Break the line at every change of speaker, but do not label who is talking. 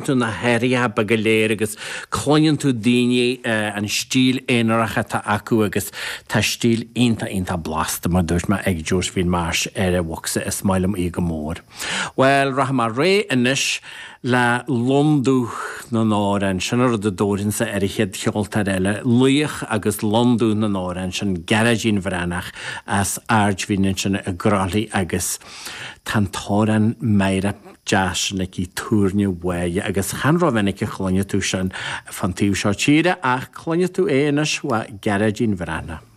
Tú na hathruithe beaga go léir agus cluineann tú daoine an stíl aonarach atá acu agus tá stíl iontach iontach blasta mar dúirt mé ag Josephine Marsh ar an bhocsa is maith liom í go mór. Bhuel rachaidh mé ar aghaidh anois le Lon Dubh na nAmhrán, sin an rud a dtabharfainnse ar an chéad cheoltóir eile, laoch agus Lon Dubh na nAmhrán, sin Gearóidín Bhreathnach as Aird Mhín ansin i gCroithlí agus tá an t-amhrán meidhreach deas sin aici, Túirne Mháire, agus chan rómhinic a chluinfidh tú sin fán taobh seo tíre ach cluinfidh tú é anois ó Ghearóidín Bhreathnach.